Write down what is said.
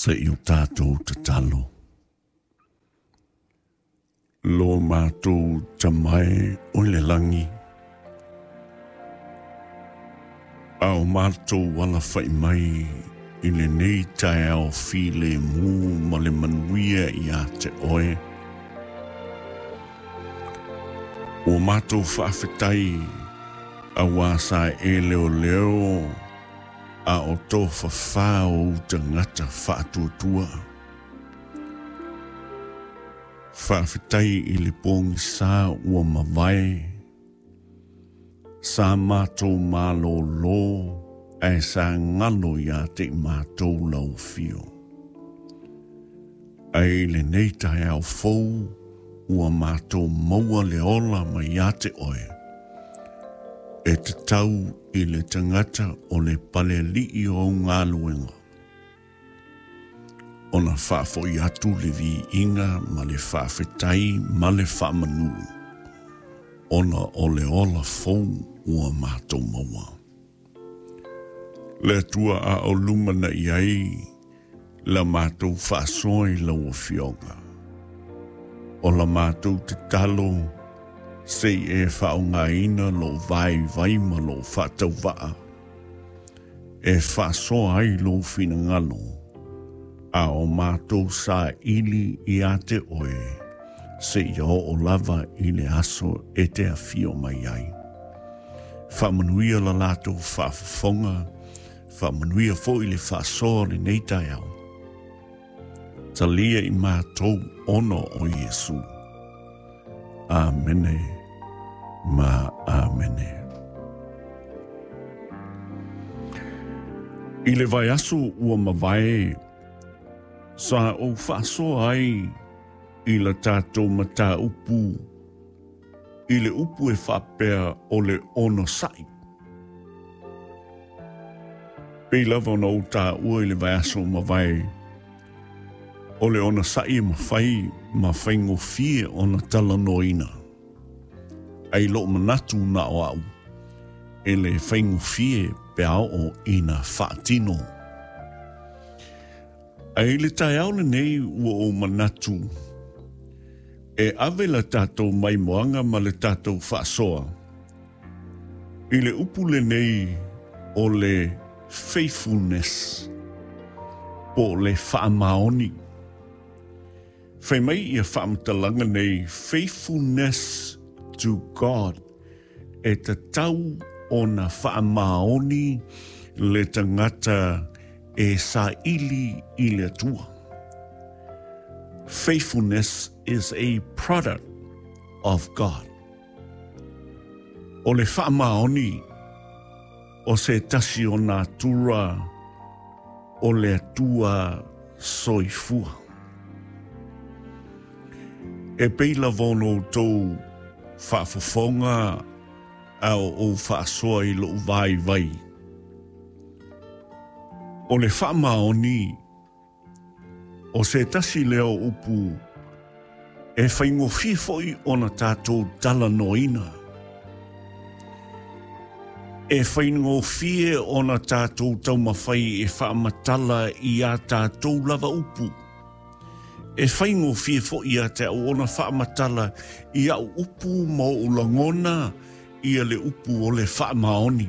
Se i o tātou tatalo. Lo mātou tamae o le langi. A o mātou ala whai mai i le nei tae ao file mū ma le manuia i a te oe. O mātou whaafetai a wā sa e leo leo a o tō whawhā o utangata whaatuatua. Whaafetai i le pōngi sā ua mawai, sa mātou mālo lō, ae sa ngalo i a te i mātou lau whio. Ai le nei tae au fou, ua mātou maua le ola mai a te oe. E te tau i le tangata o le pale lii o ngā luenga. Ona whaafoi atu le vi inga ma le whaafetai ma le whaamanu. Ona o le ola fou ua mātou maua. Le atua a o lumana i ai la mātou whaasoi la ua fioga. O la mātou te talo se i e whaongaina lo vai vai ma lo whaatau waa. E whaasoa ai lo whina a o mātou sa ili i a te oe, se i o o lava i le aso e te awhio mai ai. Whaamanuia la lātou whaafafonga, whaamanuia fo i le whaasoa le nei tai au. Talia i mātou ono o Iesu. Amene ma amene. I le vai aso ua mawai, sa o whaasoa ai i la tātou mata upu, i le upu e whapea o le ono sai. Pei lava ona o tā ua i le vai aso mawai, o le ona sai e mawhai ma whaingofie ona tala noina. Ai lo manatu na o au, e le whaingofie pe ao o ina whaatino. Ai le tae au nei ua o manatu, e ave la tātou mai moanga ma le tātou whaasoa. I le upu le nei o le faithfulness, po le whaamaoni. Whai mai ia whaamatalanga nei, faithfulness to God, e te tau o na whaamaoni le tangata e sa ili i le atua. Faithfulness is a product of God. O le whaamaoni o se tasi o nā tura o le atua soifua. E peila vono tō whaafofonga au o whaasoa i lo vai vai. O le whaamaoni o se tasi leo upu e whaingofie foi ona tātou tala noina. E whaingofie ona tātou taumawhai e whaamatala i a tātou lava upu. E whaingofie foi a te au ona whaamatala i au upu ma o langona i a le upu o le whaamaoni.